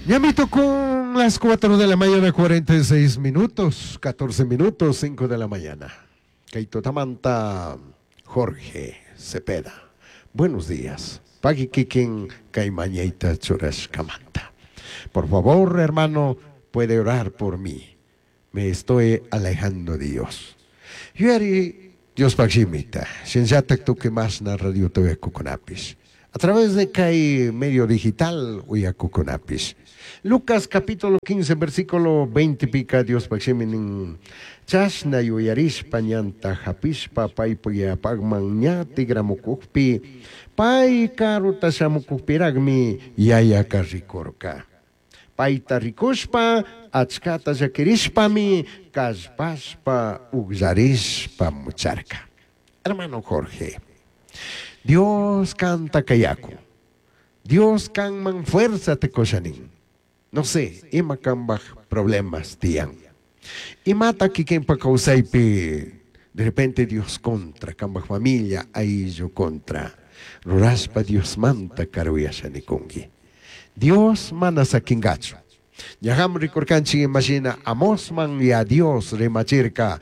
Ñamito con las 4 de la mañana, 46 minutos, 14 minutos, 5 de la mañana. Kay tutamanta Jorge Cepeda. Buenos días. Pagui kikin kay mañayta churashkamanta. Por favor, hermano, puede orar por mí. Me estoy alejando de Dios. Yuyari Diospaj shimita, shinallatak tukuy mashna radiota uyakukunapish. A través de kay medio digital uyakukunapish. Lucas capítulo 15 versículo 20 pika Diospaj shimi nin chashna yuyarishpa ñanta japishpa paypak yapakman ña tigramukukpi pay karuta shamukukpiragmi yayaka rikurka. Payta rikushpa achkata llakirishpami kallpashpa ugllarishpa mucharka. Hermano Jorge, Dios kanta kayakun. Dios kanman fuerzata kusha nin. No sé, ima kambaj problemas tiyan. Imata kikinpa kawsaypi de repente Dios contra, kambaj familia ayllu contra. Rurashpa Diosmanta karuyasha nikunki. Dios mana sakingachu. Ñaham rikurkanchik imashina Amosman ya Dios rimachirka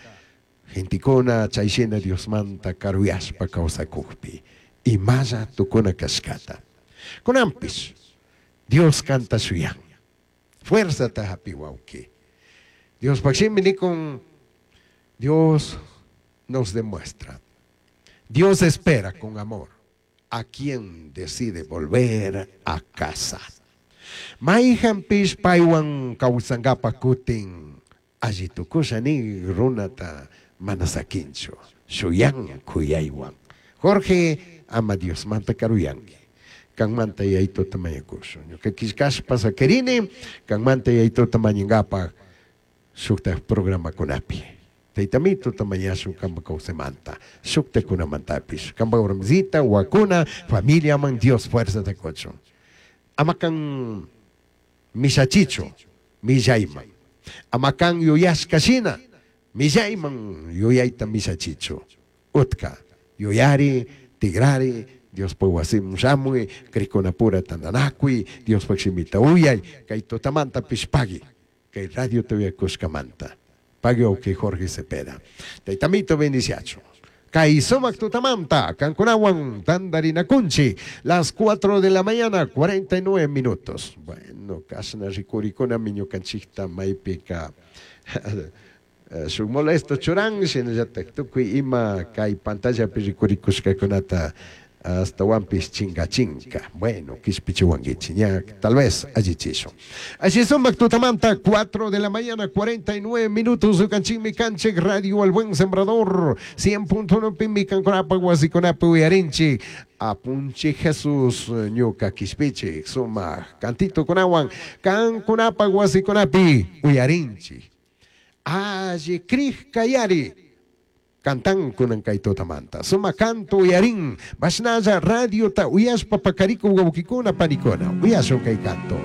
gentikuna chayshina Diosmanta karuyashpa kawsakukpi imalla tukuna kashkata. Kunanpish Dios kanta shuyan. Fuerzata hapi wawki. Diospaj shimi nikun Dios nos demuestra. Dios espera con amor a quien decide volver a casa. Mayhanpish paywan kawsankapak kutin alli tukusha ni runata mana sakinchu shuyan kuyaywan. Jorge ama Diosmanta karuyanki. Kanmanta yayituta mañakushun. Ñuka killkashpa sakirini kanmanta yayituta mañankapak shuktak programakunapi. Taytamituta mañashun kampa kawsaymanta, shuktakunamantapish. Kampa warmisita, wakuna, familiaman Dios fuerzata kuchun. Ama kan mishachichu, millayman. Ama kan yuyashka shina, millayman yuyayta mishachichu. Utka, yuyari, tigrari, Diospaj wasiman shamuy, krikunapura tantanakuy, Diospaj shimita uyay, kay tutamantapish pagui, kay radiota uyakushkamanta. Pagui wawki Jorge Cepeda. Taytamito bendiciachu. Kay sumak tutamanta, kankunawan tandarinakunchik, las 4 de la mañana, 49 minutos. Bueno, kashna rikurikunami ñukanchikta maypika shuk molesto churan, shinallatak tukuy ima kay pantallapi rikurikushkakunata astawanpish chinkachinka. Bueno, kishpichiwankichik, ña tal vez allichishun. Así sumak tutamanta, 4 de la mañana, 49 minutos, ukanchikmi kanchik Radio El Buen Sembrador, 100.1 pimi kankunapa wasikunapi uyarinchik. Apunchik Jesús ñuka kishpichik, sumak cantito kunawan kankunapa wasikunapi uyarinchik. Alli krij kayari. Cantan kunan kay tutamanta. Suma canto uyarin. Bashnalla radiota uyashpa pakariku wawkikuna panikuna. Uyashun kay canto.